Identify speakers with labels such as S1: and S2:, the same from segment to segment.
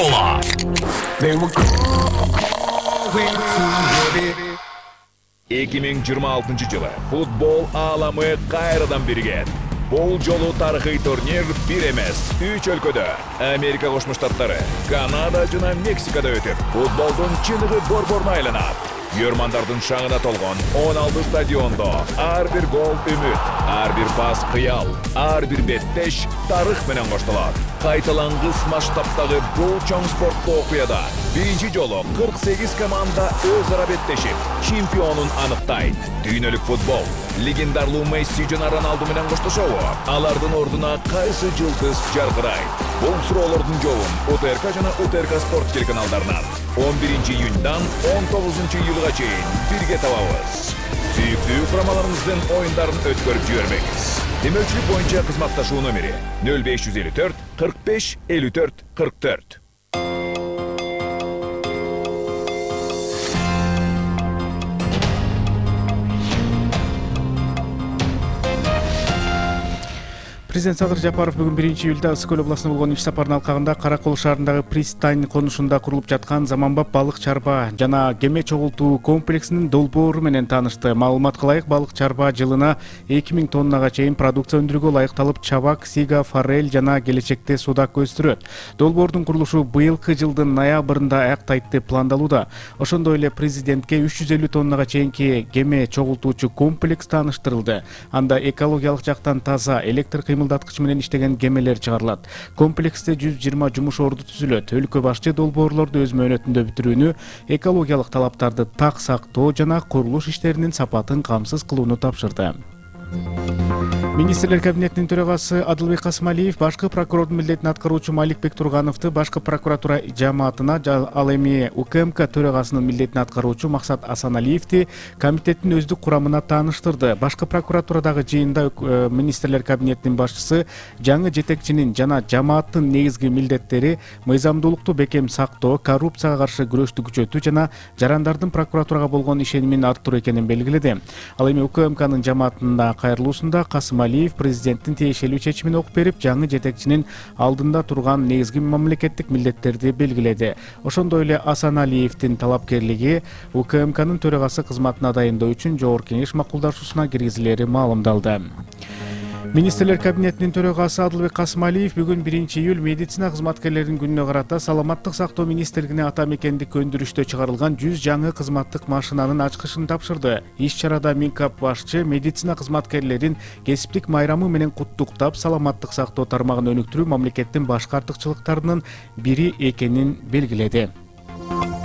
S1: Кола. 2026 жылы футбол ааламы кайрадан биригет. Бул жолу тарыхый турнир бир эмес, 3 өлкөдө Америка Кошмо Штаттары, Канада жана Мексикада өтүп, футболдун чыныгы борборуна айланат. Көрмандардын шаңына толгон 16 стадиондо ар бир гол үмүт, ар бир пас кыял, ар бир беттеш тарых менен коштолот. Кайталангыс масштабтагы бул чоң спорттуу окуяда биринчи жолу 48 команда өз ара беттешип, чемпионун аныктайт. Дүйнөлүк футбол легендарлуу Месси жана Роналду менен коштошобу? Алардын ордуна кайсы жылдыз жаркырайт? Бул суроолордун жообун УТРК жана УТРК Спорт телеканалдарынан 11 июньдан 19 июлга чейин бирге табабыз. Сүйүктүү курамаларыбыздын оюндарын өткөрүп жибербеңиз. Демөчүлүк боюнча кызматташуу номери 0554 45 54 44.
S2: Президент Садыр Жапаров бүгүн 1-июлда Ысык көл областына болгон иш сапарынын алкагында Каракол шаарындагы пристань конушунда курулуп жаткан заманбап балык чарба жана кеме чогултуу комплексинин долбоору менен таанышты. Маалыматка ылайык, балык чарба жылына 2000 тоннага чейин продукция өндүрүүгө ылайыкталып, чабак, сига, форель жана келечекте судак өстүрөт. Долбоордун курулушу быйылкы жылдын ноябрында аяктайт деп пландалууда. Ошондой эле президентке 350 тоннага чейинки кеме чогултуучу комплекс тааныштырылды. Анда экологиялык жактан таза электр кыймылдаткыч менен иштеген кемелер чыгарылат. Комплексте 120 жумуш орду түзүлөт. Өлкө башчы долбоорлорду өз мөөнөтүндө бүтүрүүнү, экологиялык талаптарды так сактоо жана курулуш иштеринин сапатын камсыз кылууну тапшырды. Министрлер кабинетинин төрагасы Адылбек Касымалиев башкы прокурордун милдетин аткаруучу Маликбек Тургановду башкы прокуратура жааматына, ал эми УКМК төрагасынын милдетин аткаруучу Максат Асаналиевди комитеттин өздүк курамына тааныштырды. Башкы прокуратурадагы жыйында министрлер кабинетинин башчысы жаңы жетекчинин жана жааматтын негизги милдеттери мыйзамдуулукту бекем сактоо, коррупцияга каршы күрөштү күчөтүү жана жарандардын прокуратурага болгон ишенимин арттыруу экенин белгиледи. Ал эми УКМКнын жааматында кайрылуусунда Касымалиев президенттин тиешелүү чечимин окуп берип, жаңы жетекчинин алдында турган негизги мамлекеттик милдеттерди белгиледи. Ошондой эле Асаналиевдин талапкерлиги УКМКнын төрагасы кызматына дайындоо үчүн жогорку кеңеш макулдашуусуна киргизилери маалымдалды. Министрлер кабинетинин төрагасы Адылбек Касымалиев бүгүн 1-июль медицина кызматкерлеринин күнүнө карата Саламаттык сактоо министрлигине ата мекендик өндүрүштө чыгарылган 100 жаңы кызматтык машинанын ачкычын тапшырды. Иш чарада Минкап башчы медицина кызматкерлерин кесиптик майрамы менен куттуктап, саламаттык сактоо тармагын өнүктүрүү мамлекеттин башкы артыкчылыктарынын бири экенин белгиледи.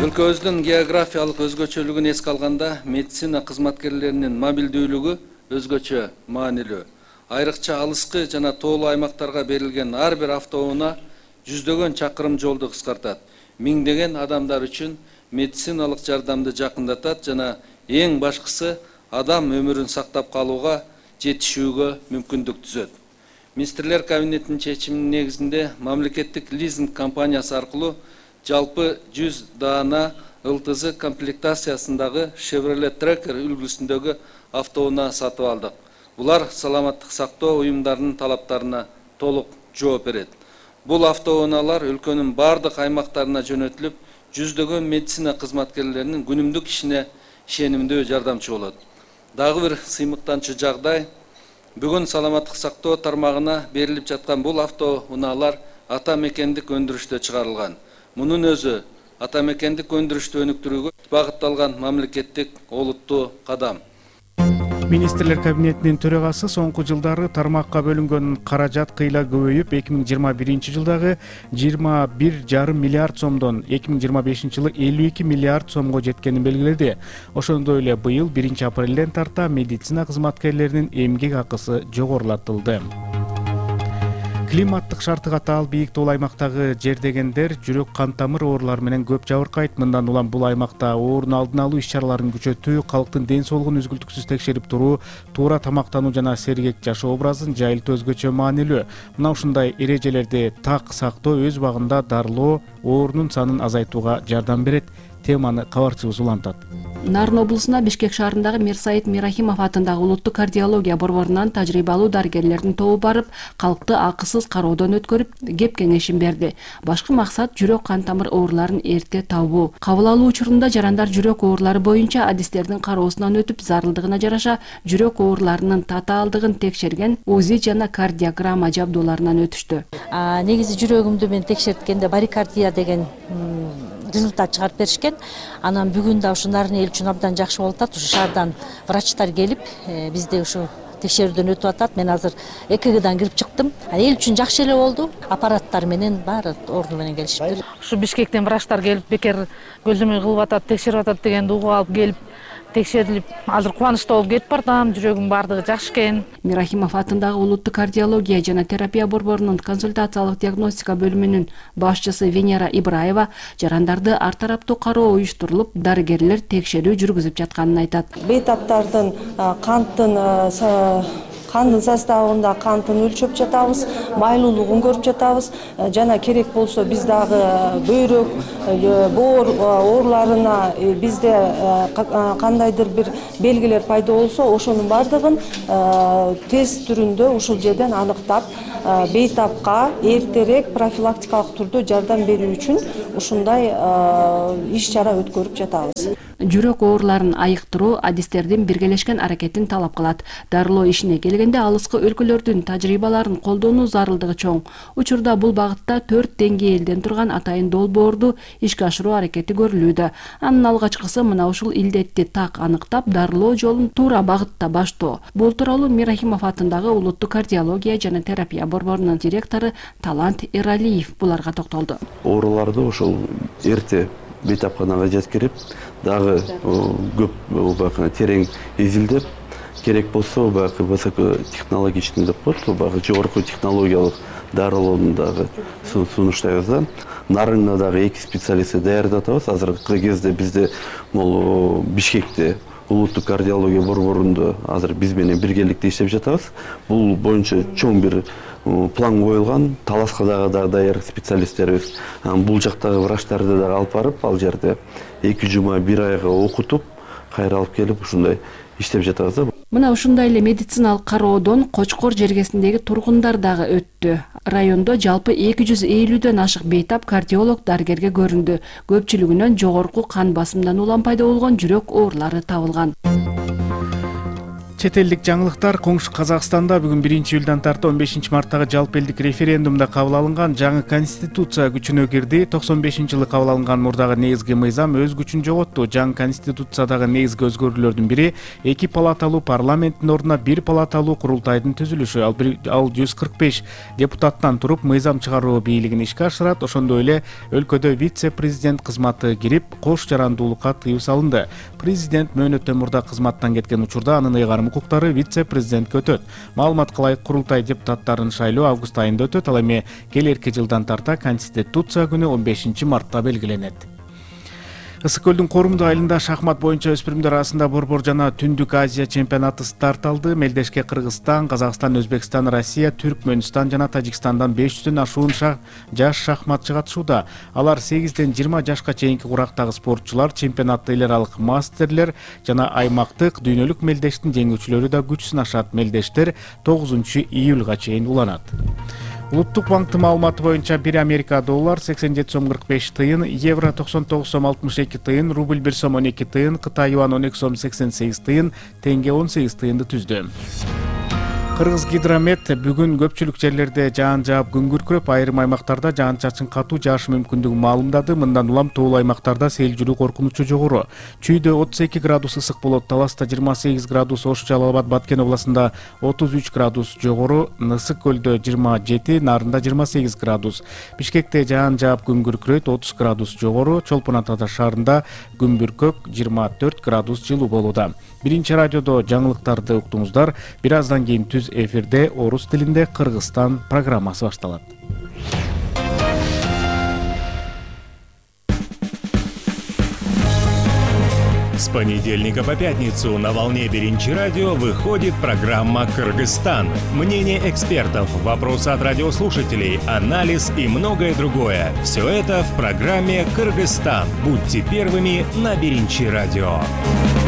S3: Өлкөбүздүн географиялык өзгөчөлүгүн эске алганда, медицина кызматкерлеринин мобилдүүлүгү өзгөчө маанилүү. Айрыкча алыскы жана тоолуу аймактарга берилген ар бир автоунаа жүздөгөн чакырым жолду кыскартат. Миңдеген адамдар үчүн медициналык жардамды жакындатат жана эң башкысы адам өмүрүн сактап калууга жетишүүгө мүмкүндүк түзөт. Министрлер кабинетинин чечиминин негизинде мамлекеттик лизинг компаниясы аркылуу жалпы 100 даана ЛТЗ комплектациясындагы Chevrolet Tracker үлгүсүндөгү автоунаа сатып алдык. Булар саламаттык сактоо уюмдарынын талаптарына толук жооп берет. Бул автоунаалар өлкөнүн бардык аймактарына жөнөтүлүп, жүздөгөн медицина кызматкерлеринин күнүмдүк ишине ишенимдүү жардамчы болот. Дагы бир сыймыктанчу жагдай, бүгүн саламаттык сактоо тармагына берилип жаткан бул автоунаалар ата мекендик өндүрүштө чыгарылган. Мунун өзү ата мекендик өндүрүштү өнүктүрүүгө багытталган мамлекеттик олуттуу кадам.
S2: Министрлер кабинетинин төрагасы соңку жылдары тармакка бөлүнгөн каражат кыйла көбөйүп, 2021 жылдагы 21,5 миллиард сомдон 2025 жылы 52 миллиард сомго жеткенин белгиледи. Ошондой эле быйыл 1-апрелден тарта медицина кызматкерлеринин эмгек акысы жогорулатылды. Климаттык шарты катаал бийик тоол аймактагы жердегендер жүрөк кан тамыр оорулары менен көп жабыркайт. Мындан улам бул аймакта оорунун алдын алуу иш чараларын күчөтүү, калктын ден соолугун үзгүлтүксүз текшерип туруу, туура тамактануу жана сергек жашоо образын жайылтуу өзгөчө маанилүү. Мына ушундай эрежелерди так сактоо өз убагында дарылоо оорунун санын азайтууга жардам берет. Теманы кабарчыбыз улантат.
S4: Нарын облусуна Бишкек шаарындагы Мирсаид Мирахимов атындагы улуттук кардиология борборунан тажрыйбалуу дарыгерлердин тобу барып, калкты акысыз кароодон өткөрүп, кеп кеңешин берди. Башкы максат жүрөк кан тамыр ооруларын эрте табуу. Кабыл алуу учурунда жарандар жүрөк оорулары боюнча адистердин кароосунан өтүп, зарылдыгына жараша жүрөк ооруларынын татаалдыгын текшерген УЗИ жана кардиограмма жабдууларынан өтүштү.
S5: Негизи жүрөгүмдү мен текшерткенде барикардия деген результат чыгарып беришкен. Анан бүгүн да ушу Нарын эл үчүн абдан жакшы болуп атат. Ушу шаардан врачтар келип, бизде ушу текшерүүдөн өтүп атат. Мен азыр ЭКГдан кирип чыктым. Эл үчүн жакшы эле болду. Аппараттар менен баары орду менен келишиптир.
S6: Ушу Бишкектен врачтар келип, бекер көзөмөл кылып атат, текшерип атат дегенди угуп алып келип, текшерилип, азыр кубанычтуу болуп кетип бардым. Жүрөгүм баардыгы жакшы экен.
S4: Мирахимов атындагы улуттук кардиология жана терапия борборунун консультациялык диагностика бөлүмүнүн башчысы Венера Ибраева жарандарды ар тараптуу кароо уюштурулуп, дарыгерлер текшерүү жүргүзүп жатканын айтат.
S7: Бейтаптардын кандын составында кантын өлчөп жатабыз, майлуулугун көрүп жатабыз, жана керек болсо биз дагы бөйрөк, боор ооруларына бизде кандайдыр бир белгилер пайда болсо, ошонун баардыгын тест түрүндө ушул жерден аныктап, бейтапка эртерээк профилактикалык түрдө жардам берүү үчүн ушундай иш-чара өткөрүп жатабыз.
S4: Жүрөк ооруларын айыктыруу адистердин биргелешкен аракетин талап кылат. Дарылоо ишине келгенде алыскы өлкөлөрдүн тажрыйбаларын колдонуу зарылдыгы чоң. Учурда бул багытта 4 деңгээлден турган атайын долбоорду ишке ашыруу аракети көрүлүүдө. Анын алгачкысы мына ушул илдетти так аныктап, дарылоо жолун туура багытта баштоо. Бул тууралуу Мирахимов атындагы улуттук кардиология жана терапия борборунун директору Талант Эралиев буларга токтолду.
S8: Ооруларды ошол эрте бейтапканага жеткирип, дагы көп терең изилдеп, керек болсо баягы высокотехнологичный деп коет, баягы жогорку технологиялык дарылоону дагы сунуштайбыз да. Нарында дагы 2 специалистти даярдап атабыз. Азыркы кезде бизде Бишкекте улуттук кардиология борборунда азыр биз менен биргеликте иштеп жатабыз. Бул боюнча чоң бир план коюлган, Таласка дагы даяр специалисттерибиз. Бул жактагы врачтарды дагы алып барып, ал жерде 2 жума 1 айга окутуп, кайра алып келип ушундай иштеп жатабыз.
S4: Мына ушундай эле медициналык кароодон Кочкор жергесиндеги тургундар дагы өттү. Райондо жалпы 250дөн ашык бейтап кардиолог дарыгерге көрүндү. Көпчүлүгүнөн жогорку кан басымдан улам пайда болгон жүрөк оорулары табылган.
S2: Чет элдик жаңылыктар. Коңшу Казакстанда бүгүн 1-июлдан тарта 15 марттагы жалпы элдик референдумда кабыл алынган жаңы конституция күчүнө кирди. 95-жылы кабыл алынган мурдагы негизги мыйзам өз күчүн жоготту. Жаңы конституциядагы негизги өзгөрүүлөрдүн бири 2 палаталуу парламенттин ордуна 1 палаталуу курултайдын түзүлүшү. Ал 145 депутаттан туруп мыйзам чыгаруу бийлигин ишке ашырат. Ошондой эле өлкөдө вице-президент кызматы кирип, кош жарандуулукка тыюу салынды. Президент мөөнөттөн мурда кызматтан кеткен учурда анын ыйгарым укуктары вице-президентке өтөт. Маалыматка ылайык курултай депутаттарын шайлоо август айында өтөт. Ал эми келерки жылдан тарта Конституция күнү 15 мартта белгиленет. Ысык көлдүн Корумду айылында шахмат боюнча өспүрүмдөр арасында борбор жана Түндүк Азия чемпионаты старт алды. Мелдешке Кыргызстан, Казакстан, Өзбекстан, Россия, Түркмөнстан жана Тажикстандан 500дөн ашуун жаш шахматчы катышууда. Алар 8ден 20 жашка чейинки курактагы спортчулар, чемпионатта эл аралык мастерлер жана аймактык дүйнөлүк мелдештин жеңүүчүлөрү да күч сынашат. Мелдештер 9-июлга чейин уланат. Улуттук банктын маалыматы боюнча 1 Америка доллар 87 сом 45 тыйын, евро 99 сом 62 тыйын, рубль 1 сом 12 тыйын, Кытай юан 12 сом 88 тыйын, теңге 18 тыйынды түздү. Кыргыз гидромет бүгүн көпчүлүк жерлерде жаан жаап күн күркүрөп, айрым аймактарда жаан-чачын катуу жаашы мүмкүндүгүн маалымдады. Мындан улам тоол аймактарда сел жүрүү коркунучу жогору. Чүйдө 32 градус ысык болот, Таласта 28 градус, Ош, Жалал Абад, Баткен областында 33 градус жогору, Ысык көлдө 27, Нарында 28 градус. Бишкекте жаан жаап күн күркүрөйт, 30 градус жогору, Чолпон Ата шаарында күн бүркөк 24 градус жылуу болууда. Биринчи радиодо жаңылыктарды уктуңуздар. Бир аздан кийин түз эфирде орус тилинде Кыргызстан программасы башталат.
S9: понедельника по пятницу на волне Биринчи радио выходит программа «Кыргызстан». Мнение экспертов, вопросы от радиослушателей, анализ и многое другое. Все это в программе «Кыргызстан». Будьте первыми на Биринчи радио.